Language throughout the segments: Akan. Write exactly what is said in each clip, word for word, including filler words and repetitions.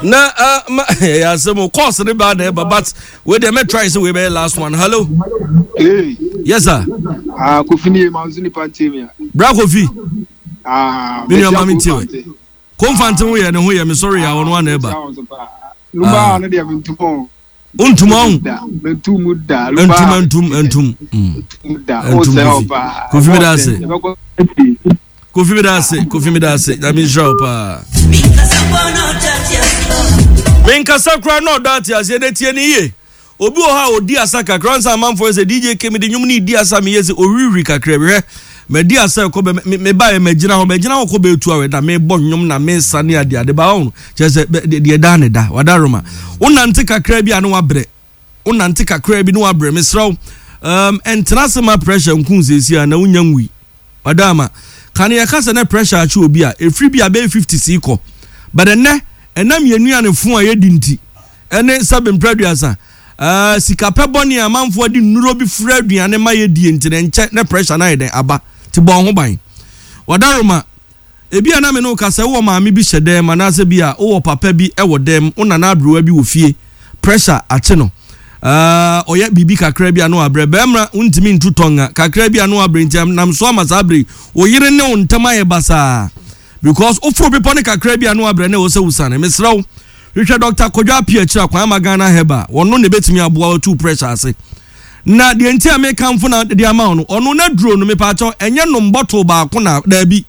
Na uh, ma ɛyɛ asɛm o, course ne ba na ɛba, but wei deɛ mɛ try sɛ wei bɛyɛ last one. Hello? Hey. Yes sir. Ah, Kofi ni ma nso nipa ntie mi a. Bra Kofi. Ah, me nua, ma me ntie we. Komfante ho yɛ ne ho yɛ me sɔre yɛ a ɔno ana ɛba. Lumba no deɛ, mentum o. Ntum ɔho. Mentum mu da. Ntum, ntum, ntum. Ntum da. Ntum. O sɛ Kofi. ɔba. Kofi mi da ase. Yɛbɛkɔ. Kofi mi da ase, Kofi mi da ase, Nyame nhyira wo paa. Menkasa koraa na ɔdɔ ate aseɛ na tie ne yie. Obi wɔ hɔ a ɔdi asa kakra nsa amanfoɔ sɛ D J K mede nnwom no di asa, meyɛ sɛ ɔwiriwiri kakra bi. Hwɛ, madi asa ɛkɔ bɛ mebaeɛ, magyina hɔ magyina hɔ kɔ bɛɛtu awɛ na mebɔ nnwom na mesa ne ade ade ba ɔno kyerɛ sɛ deɛ da ne da wada roma. Wonante kakra bi a ne wabrɛ, wonante kakra bi ne wabrɛ. Mesrɛ wo, um, ɛntena ase ma pressure nku seesi a na wonya nwui. Wada ama kane yɛka sɛ ne pressure akye obi a ɛfiri bi a bɛyɛ fifty sii kɔ, but ɛnɛ ɛnam yɛn nnuane fo a yɛdi nti ɛne sɛbe mprɛduasa uh, sikapɛ bɔne a amanfoɔ de nnuro bi fura aduane ma yɛdie nti ne nkyɛ ne pressure no ayɛ dɛn aba. Nti bɔ ho ban. Wadaroma, ebi a na me ne wo ka sɛ wowɔ maame bi hyɛ dɛm anaasɛ bi a wowɔ papa bi wɔ dɛm, wo nana aberewa bi wɔ fie, pressure akye no, uh, ɔyɛ biribi kakra bi a no abrɛ bɛrima wontumi ntu tɔnga kakra bi a no abrɛ, nti nam so ama saa abere wo yere ne wo ntam ayɛ basaa because woforo bepɔ ne kakra bi a no abrɛ ne ɛwɔ sɛ wosane. Mesrɛ wo, hwehwɛ Doctor Kwadwo Apia akyiri akwan ama Ghana Herba. Wɔno ne bɛtumi aboa watu pressure ase. Na deɛ nti a mekamfo na de ama wo no, ɔno na duro no, mepaakyɛw, ɛnyɛ nom bottle baako na daabi.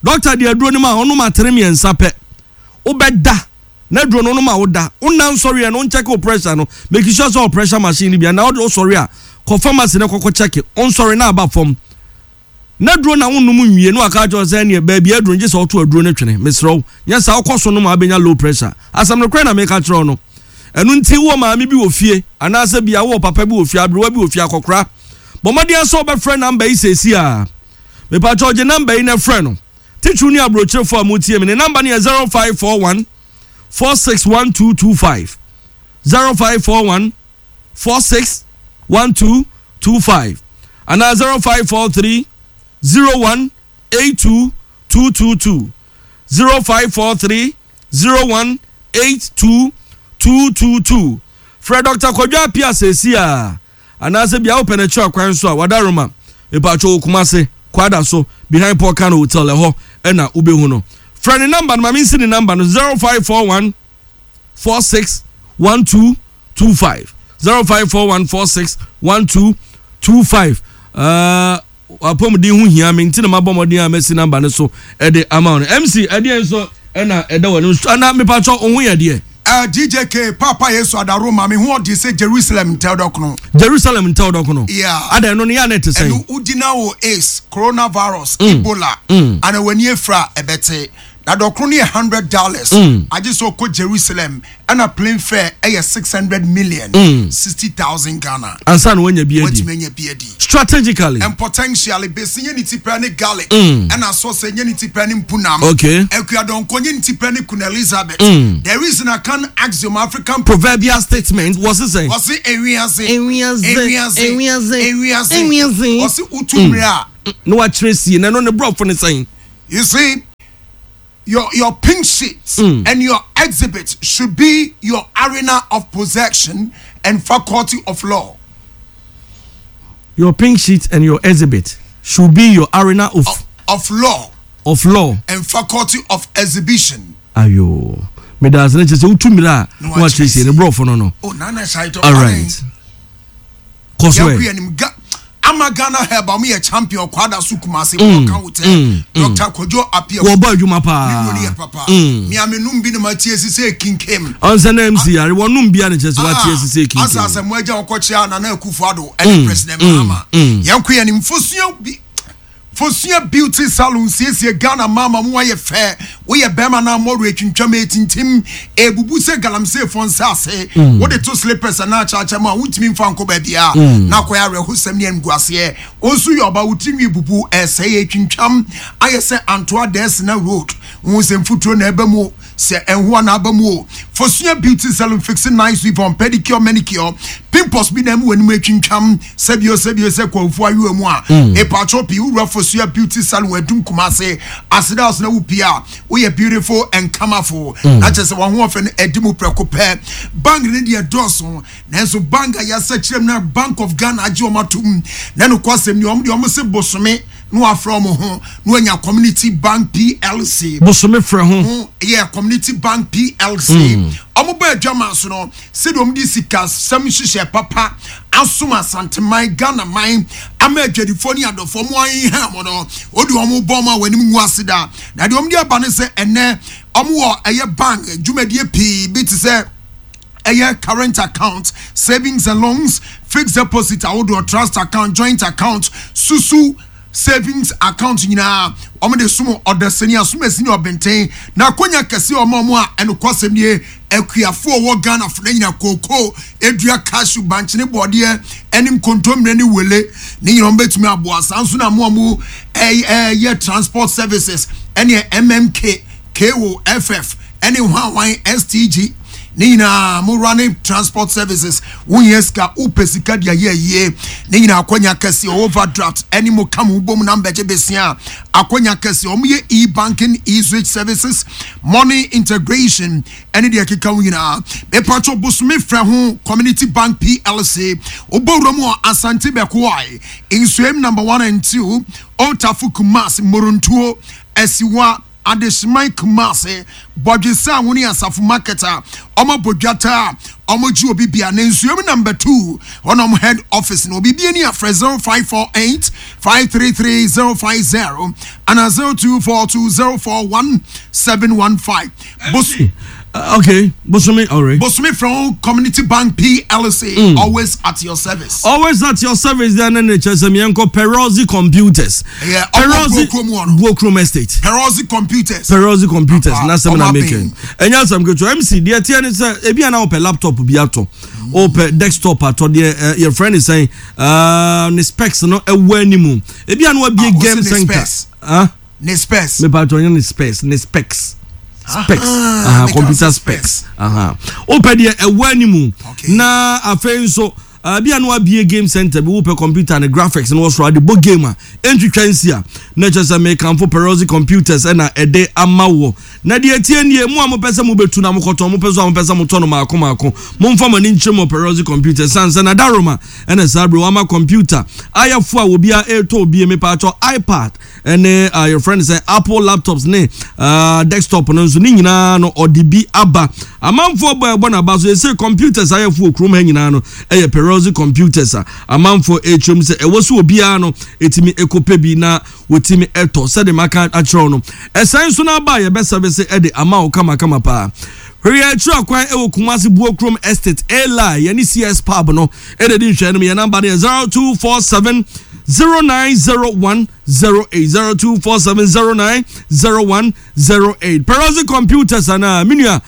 Doctor deɛ, aduro no ma ɔnom atere mmiɛnsa pɛ, wobɛda na duro no nom a woda wona nsɔre no nkyɛke wo pressure no. Make sure sɛ wo pressure machine no bi anaa wode wosɔre a, kɔ pharmacy no kɔkɔ kyɛke onsɔre na aba fam na duro na wonom nwie na waka kyerɛ sɛ neɛ baabi aduro ngye sɛ woto aduro no twene. Mesrɛ wo, nyɛ saa, wokɔ so nom a wobɛnya low pressure. Asɛm no korɛ na meka kyerɛ wo no. Ɛno nti wowɔ maame bi wɔ fie anaasɛ bia wowɔ papa bi wɔ fie, aberewa bi wɔ fie, akɔkora, bɔ mmɔden sɛ wobɛfrɛ number yi seesi a. Mepakyɛ, ɔgye number yi na frɛ no. Titiriw ne aburokyerɛfoɔ a motie me, ne number no yɛ zero five four one four six one two two five, zero five four one four six one two two five anaa zero five four three zero one eight two two two two, zero five four three zero one eight two two two two. Frɛ Doctor Kwadwo Apia seesi a anaasɛ bia wopɛ no kyerɛ kwan so a, wadaroma, mepatwo, wo Kumase Kwada so behind Paul Kano Hotel, ɛhɔ ɛna wobɛhu no. Frɛ ne number no, ma mensi ne number no: zero five four one four six one two two five, zero five four one four six one two two five. Uh, apɔmuden ho hia me nti na mabɔ mmɔden a mɛsi number no so ɛde ama wo no. M C, ɛdeɛ nso ɛna ɛda wɔ no ana? Mepatwɔ, wo ho yɛ deɛ? Uh, D J K, Papa Yesu adaro ma me ho ɔde sɛ Jerusalem ntɛw dɔkono. Jerusalem ntɛw dɔkono? Yeah. Ada ɛno no yɛ ana ɛte sɛn? Ɛno wogyina wɔ AIDS, coronavirus, Mm. Ebola Mm. ana w'ani efura ɛbɛte na dɔkono no yɛ hundred dollars Mm. agye sɛ ɔkɔ Jerusalem, ɛna plane fare ɛyɛ six hundred million Mm. sixty thousand Ghana. Ansa na wanya bi adi. Watumi anya bi adi. Strategically. And potentially besi nye ne ti pɛ ne garlic Mm. ɛna sɔsɛ nye ne ti pɛ ne mpunam. Okay. Ekuadɔnkɔ nye ne ti pɛ ne Queen Elizabeth. Mm. There is an Akan axiom, African proverbial statement wɔ sisɛn? Wɔsi ewiase. Ewiase. Ewiase. Ewiase. Ewiase. Ewiase. Wɔsi utu mmiri a. Na wakyerɛ sie na ɛno ne borɔfo ne sɛn? You see, your your pink sheets Mm. and your exhibit should be your arena of possession and faculty of law. Your pink sheet and your exhibit should be your arena of Of, of law of law and faculty of exhibition. Ayo, meda ase. Ne kyerɛ sɛ wotu mmiri a Na na wakyerɛ sie ne borɔfo no no Oh, Nana Shaito. All right, kɔ so ɛ. Yɛn ga ama Ghana Herb ɔmo yɛ champion Kwada so Kumase Mm, Bɔka Hotel. mm, mm. Doctor Kojo Apia. Wɔbɔ adwuma Ne paa. yɛ papa. Mm. Mia me num bi na ma tie sise kinkem. Ɔnsɛ na M C yare wɔnom bia ne kyerɛ sɛ wateɛ sise kinkin. Asa asɛm agya wɔkɔkyea Nana Akufo Addo ɛne Mm, President mm, Mahama. mm. Yɛn ko yɛn nim Fosua bi, Fosua Beauty Salon siesie Ghana mama mu ayɛ fɛ. Woyɛ bɛrima na mmɔro etwintwam etintim ebubu sɛ galamsey fɔ nsa ase, Mm. wode to slippers anaa akyaakyɛ mu a wontumi nfa nkɔ baabi a Mm. na akɔyɛ awerɛhosɛm ne animguaseɛ. Wɔn nso yɛ ɔba, wotiri nwi bubu ɛsɛe etwintwam ayɛ sɛ Antoa Dɛsena road wɔn sɛ mfuturo na ɛbɛ mu o, sɛ ɛnhoa na aba mu o. Fosua Beauty Salon, fixing nice weave on, pedicure, manicure, pimples bi na mu w'anim atwintwam, sɛbio sɛbio sɛ kɔnfu ayewa mu a, epatwɔ pii, wura Fosua Beauty Salon Adum Kumase Aseda House na wopie a, woyɛ beautiful and colorful, na kyerɛ sɛ wɔn ho ɔfɛ no ɛdi mu prɛko pɛ. Bank ne deɛ dɔɔso, nanso bank a yɛasɛ kyerɛ mu na Bank of Ghana agye wɔn atom na no kɔ asɛm ni, wɔn deɛ wɔn se bosome na wafrɛ wɔn ho na wɔanya Community Bank P L C. Bosome frɛ ho. Ho yɛ Community Bank P L C. Ɔmo bɔ adwama so no, sɛdeɛ ɔmo de sika sɛm hyehyɛ papa asom Asanteman, Ghana man, ama adwadifoɔ ne adɔfoɔ mo aheha mo no, ɔde ɔmo bɔ ɔmo a wɔanim ngu ase da. Na deɛ ɔmo de aba ne sɛ ɛnɛ ɔmo wɔ ɛyɛ bank dwumadie pii bi te sɛ ɛyɛ current account, savings and loans, fixed deposit ahodoɔ, trust account, joint account, susu savings account nyinaa. Wɔn de som ɔdasani asomasi ne ɔbɛnten na akonya kɛse ɔmo ɔmo a ɛnokɔsɛm nie, akuafoɔ wɔ Ghana fo na nyina kooko edua, cashew, bankyene, bɔɔdeɛ ɛne nkontommire ne wele ne nyina, wɔn bɛtumi aboa. Saa nso na mo a mo ɛyɛ ɛyɛ transport services ɛne M M K, K O F F ɛne hwanhwan S T G ne nyinaa, mo running transport services, wohia sika, wopɛ sika de ayɛ ayie ne nyinaa, akɔnya kɛseɛ, overdraft ɛne mo ka mo bom na mbɛgye besia a, akɔnya kɛseɛ. Ɔmo yɛ e-banking, e-switch services, money integration ɛne deɛ ɛkeka ho nyinaa. Mepatwɔ, bosome frɛ ho Community Bank P L C. Wobɔ wura mu wɔ Asante Bɛkoae, Nsuem number one and two, Otafo Kumase, Morontuo, Asiwa, Adehyeman Kumase, Bɔdwesa a ne Asafo Market a ɔmo abɔ dwata a ɔmo gye obi bia na Nsuom number two, ɔnom head office na obi bie ni afrɛ zero five four eight five three three zero five zero ana zero two four two zero four one seven one five. Bos Uh, okay, bosome, all right. Bosome from Community Bank P L C, always at your service. Always at your service. Then ne kyerɛ sɛ meɛnkɔ Perosi Computers. Yeah, ɔmo Buokrom hɔ no. Buokrom Estate. Perosi Computers. Perosi Computers. Apa, na sɛm na ɔmo meka abɛn. ɛnyɛ asɛm ketewa. M C, deɛ teɛ ne sɛ ebi a na wopɛ laptop bi atɔ, wopɛ desktop atɔ, deɛ eh, yɛfrɛ ne sɛn, uh, ne specs no ɛwɔ animu, ebi a na wabie Ah, game ɔsi ne center. specs. Ah? Ne specs. Mepatɔ, nyɛ ne specs, ne specs, specs. Aha, Aha, meka computer sɛ specs. Aha, wopɛ deɛ ɛwɔ animu. Okay. Na afei nso uh, bi a na wabie game center bi, wopɛ computer ne graphics no wɔ soro ade bɔ game a ɛntwitwa nsi a, na kyerɛ sɛ mekamfo Perosi Computers ɛna ɛde ama wɔ. Na deɛ tie nie, mu a mopɛ sɛ mobɛtu na mokɔtɔn, mopɛ so a mopɛ sɛ motɔ no maako maako, momfa mo ani nkyerɛ mu Perosi Computers, sane sɛ nadaroma ɛna saa bere wama computer ayɛfo a obia ɛretɔ obie. Mepaakyɛw, iPad ɛne uh, your friend sɛ Apple laptops ne uh, desktop no nso ne nyinaa no, ɔde bi aba. Amanfoɔ bɔ ɛbɔ n'aba so ɛsɛ computers ayɛfo wɔ kurom ha nyinaa no, ɛyɛ Perosi Computers a amanfoɔ ɛretwam sɛ ɛwɔ so obiara no ɛtumi ɛkɔpɛ bi na wɔtumi ɛtɔ. Sɛde maka akyerɛw no, ɛsɛn nso no aba a yɛbɛ service ɛde ama wo kamakama paa. Hwɛ, akyiri akwan ɛwɔ Kumasi Buokrom Estate Eli, yɛne C S Pub no ɛna di nhwɛ no. Yɛn number no yɛ zero two four seven zero nine zero one zero eight, zero two four seven zero nine zero one zero eight. Perosi Computers anaa menua,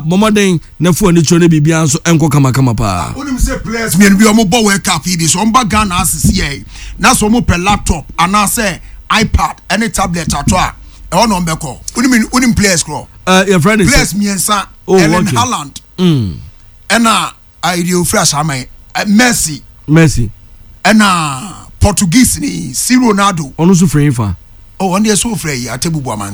mɔmɔden na fo ani kyerɛ no, biribiara nso ɛnkɔ kamakama paa. Wonim sɛ players mmienu bi a ɔmo bɔ World Cup yi bi so, ɔmo ba Ghana asisi yɛ na sɛ ɔmo pɛ laptop anaasɛ iPad ɛne tablet atɔ a, ɛhɔ na ɔmo bɛkɔ. Wonim, wonim players korɔ? Uh, yɛfrɛ ne players sɛ mmiɛnsa. Oh, Erling okay. Haaland Mm, ɛna ayi ofiri asaman, Messi. Messi. Ɛna Portuguese ni si Ronaldo. Ɔno nso firi fa? Oh, ɔno deɛ so ofiri yi atebubu aman.